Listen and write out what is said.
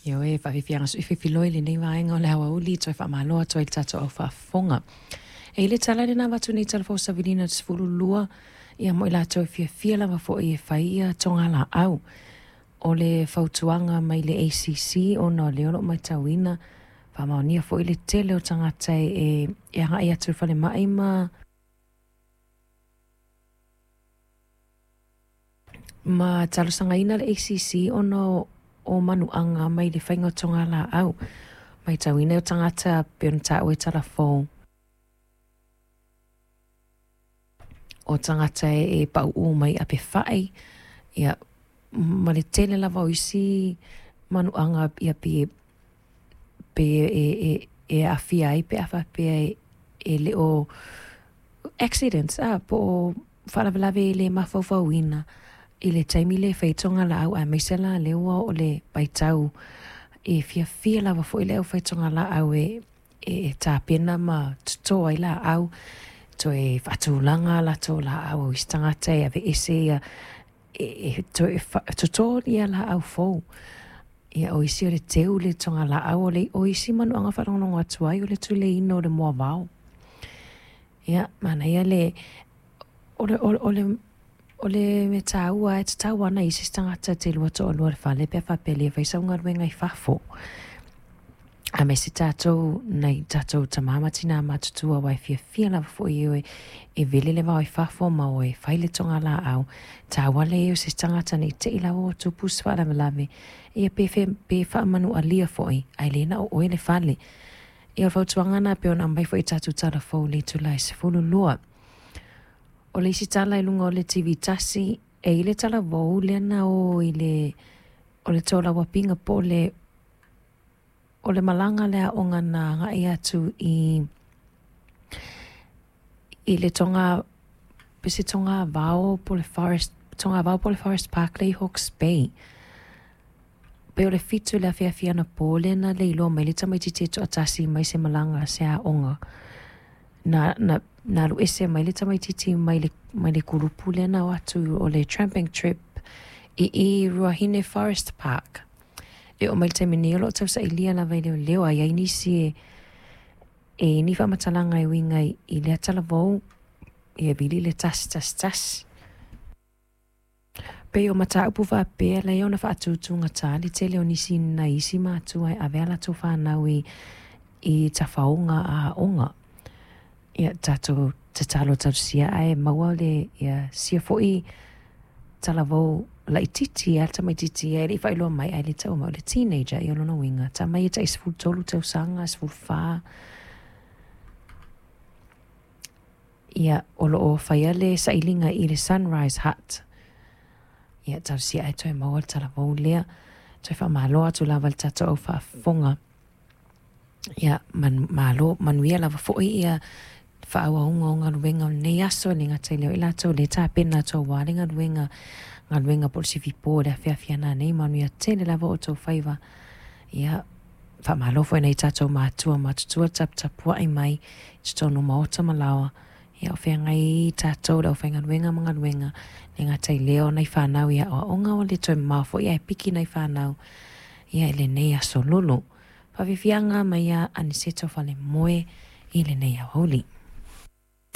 Ioe, faafiafiaga suififiloi lenei vaega o le aoauli toe faamalo atu ai le tatou au faafofoga. E i le tala lena avatu nei talafou savilina 12 ia mo i latou e fiafia lava foi e fai ia togalaau. O le fautuaga mai le ACC ona o lea o lo o matauina faamaonia foi le tele o tagata e agai atu i le falemai ma talosagaina le ACC ona o manuaga mai le faiga o togalaau. Matauina o tagata pei ona taua i talafou o tagata e pauu mai apefai ia ma le tele lava o isi manuaga ia pe e aafia ai pe a faapea e le o accidents po o faalavelave e le mafaufauina i le taimi le fai togalaau aemaise la lea ua oo le vaitau e fiafia lava foi le aufai togalaau e tapena ma toto ai laau toe faatulaga latou laau o isi tagata e aveese ia e toe toto ia laau fou. Ia o isi o le teu le togalaau o isi manuaga faalogologo atu ai o le tuleina o le moavao. Ia manaia le o le mea taua e tatau ana i se tagata te lua toalua i le fale pe a faapea e le fai sau galuega i fafo. Aemaise tatou nai tatou tama ma tina matutua aua e fiafia lava foi e vele le vao i fafo ma o e fai le togalaau. Taua le i ai o se tagata nei te i lava ua tupu se faalavelave ia pe faamanualia foi ae le na o oe le fale. Ia o le fautuaga na pei ona aumai foi i tatou talafou i le itula e 12. O le isi tala i luga o le TV tasi, e i le talavou lea na o i le o le tolauapiga po o le malaga le aoga na agai atu i le toga, pe se togavao po o le forest, togavao po o le Forest Park lea i Hawke's Bay. Pei o le 7 i le afiafi anapo lea na leiloa mai le tamaitiiti e toatasi mai se malaga a se aoga. Na alu ese mai le tamaitiiti mai le kulupu lea na o atu o le tramping trip i Ruahine Forest Park. E oo mai le taimi nei o lo o tausailia lava i leoleo a i ai nisi e ni faamatalaga e uiga i lea talavou ia vili le 111. Pei o mataupu faapea lea ona faatutugata le tele o nisi nai isi matua e ave a latou fanau i tafaoga a aoga. Ia tatou tatalo tausia ae maua le ia sia foi talavou laitiiti a le tamaitiiti e le i faailoa mai ae le taua mai o le teenager ia o lona uiga tama ia tai 13 tausaga, 14. Ia o lo o faia le sailiga i le Sunrise Hut. Ia tausia ae toe maua le talavou lea. Toe faamalo atu lava le tatou au faafofoga. Ia malo manuia lava foi ia faaauauga o galuega o lenei aso e le gata i lea o i latou le tapena atu aua le galuega po o le sifipo le afiafi ana nei manuia tele lava o outou faiva. Ia faamalo foi nai tatou matua matutua taputapuai mai i totonu o maota ma laoa. Ia o feagai tatou le aufaigaluega ma galuega le gata i lea o nai fanau i aoaoga o le toe mamao foi ae piki nai fanau ia i lenei aso lolo. Faafiafiaga mai ia Aniceto Falemoe i lenei aoauli.